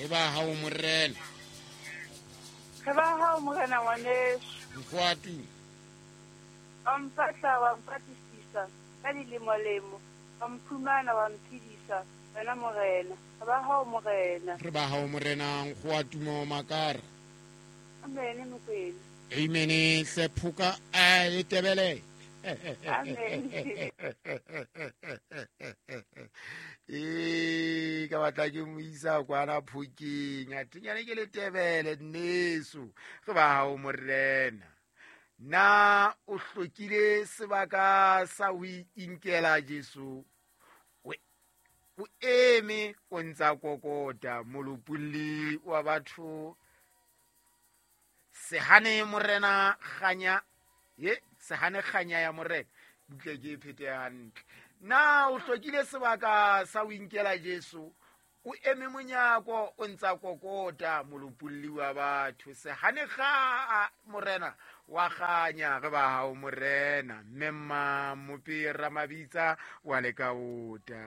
Re ba hao morena. Re ba hao morena ngwaneso. Nkgoatu. Wa mpatla wa mpatlisisa ka dilemolemo, wa mphumana wa mphedisa, wena morena. Re ba hao morena. Re ba hao morena Nkgoatumo Makara. Amen Mokwena. Amen hle phoka a e tebele. Amen. Ee, ka batla ke mo isa kwana phokeng, a thinyane ke letebele nneso. Re ba hao morena. Na o hlokile sebaka sa ho inkela Jesu? O eme o ntsa kokota molopolli wa batho. Sehane morena kganya, ye sehane kganya ya morena, butle ke e phete hantle. Na o hlokile sebaka sa ho inkela Jesu? O eme monyako o ntsa kokota molopolli wa batho. Sehane kga morena wa kganya, re ba hao morena. Mme mma Mope Ramabitsa wa lekaota.